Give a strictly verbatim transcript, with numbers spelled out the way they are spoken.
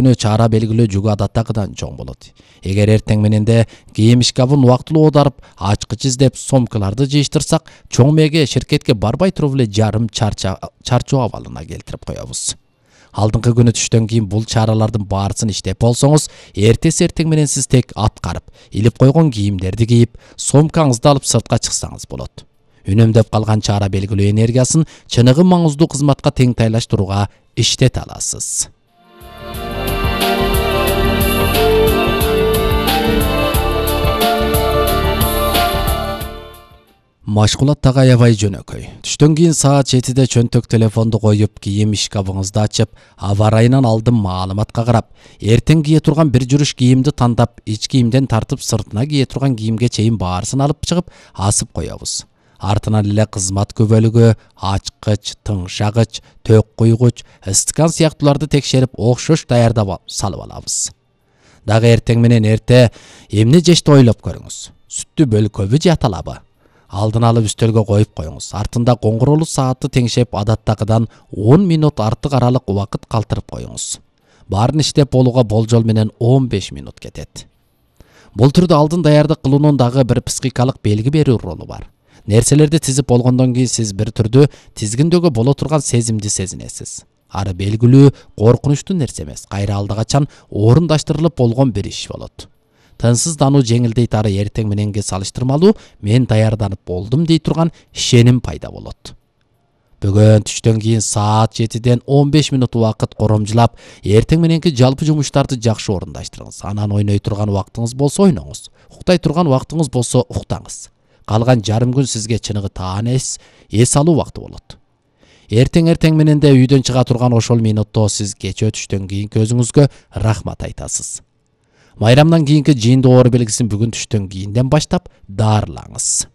күнү чара белгилөө жүгү адаттагыдан чоң болот. Эгер эртең мененде кийим шкафын убактылуу оодарып, ачкыч издеп, сомкаларды жыйыштырсак, чоң мээге ширкетке барбай туруп эле жарым чарчоо абалына келтирип коебуз. Алдыңкы күнү түштөн кийин бул чаралардын баарысын иштеп болсоңуз, эртеси эртең менен сиз тек аткарып, илип койгон кийимдерди кийип, сомкаңызды алып сыртка чыксаңыз болот. Үнөмдөп калган чара белгилөө энергиясын чыныгы маңыздуу кызматка теңтайлаштырууга иштете аласыз. Машкулаттагы аябай жөнөкөй. Түштөн кийин саат жетиде чөнтөк телефонду коюп, кийим шкафыңызды ачып, аба ырайынан алдын маалыматка карап, эртең кие турган бир жүрүш кийимди тандап, ич кийимден тартып сыртына кие турган кийимге чейин баарысын алып чыгып, асып коебуз. Артынан эле кызмат күбөлүгү, ачкыч, тыңшагыч, төк куйгуч, стакан сыяктууларды текшерип, окшош даярдап салып алабыз. Дагы эртең менен эрте эмне жешти ойлоп көрүңүз. Сүттү бөлкөбү же аталабы? Алдын алып үстөлгө коюп коюңуз. Артында коңгуроолуу саатты теңшеп, адаттагыдан он минут артык аралык убакыт калтырып коюңуз. Баарын иштеп болууга болжол менен он беш минут кетет. Бул түрдө алдын даярдык кылуунун дагы бир психикалык белги берүү ролу бар. Нерселерди тизип болгондон кийин сиз бир түрдүү тизгиндөгө боло турган сезимди сезинесиз. Ары белгилүү, коркунучтуу нерсе эмес, кайра алда качан орундаштырылып болгон бир иш болот. Тынсыздануу жеңилдейт, ары эртең мененге салыштырмалуу мен даярданып болдум дей турган ишеним пайда болот. Бүгүн түштөн кийин саат жетиден он беш минут убакыт коромжулап, эртең мененки жалпы жумуштарды жакшы орундаштырыңыз. Анан ойной турган убактыңыз болсо ойноңуз, уктай турган убактыңыз болсо уктаңыз. Калган жарым күн сизге чыныгы таан эс, эс алуу убакты болот. Эртең-эртең мененде үйдөн чыга турган ошол минутто сиз кечээ түштөн кийинки өзүңүзгө рахмат айтасыз. Майрамдан кийинки жыйындоо оор белгисин бүгүн түштөн кийинден баштап даарылаңыз.